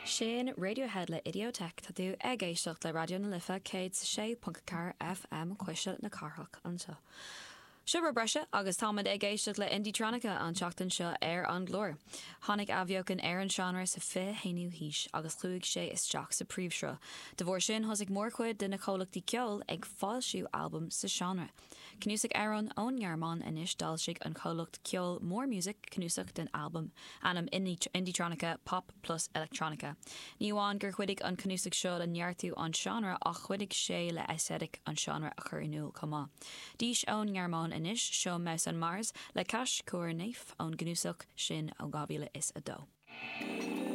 Sin Radiohead le Idioteque. Tá tú ag éisteacht le Raidió na Life 106.4 FM, Cuisle na Cathrach anseo. Seo rud breise agus táimid ag éisteacht le Indietronica an tseachtain seo ar an gclár. Tháinig athbheochan ar an seánra sa 21ú haois agus chuaigh sé isteach sa príomhshruth. De bharr sin thosaigh mórchuid de na comhlachtaí ceoil ag foilsiú albam sa seánra. Cnuasach amhrán ón nGearmáin anois D'fhoilsigh an comhlacht ceoil Morr Music cnuasach den albam ainm Indietronica, Pop Plus Electronica. Ní amháin gur chuidigh an cnuasach seo le neartú an seánra ach chuidigh sé le aesthetic an seánra a chur in iúl chomh maith. Dís ón nGearmáin anois, seo Mouse on Mars le Cash Coeur Neuf ón gcnuasach sin ó 2002.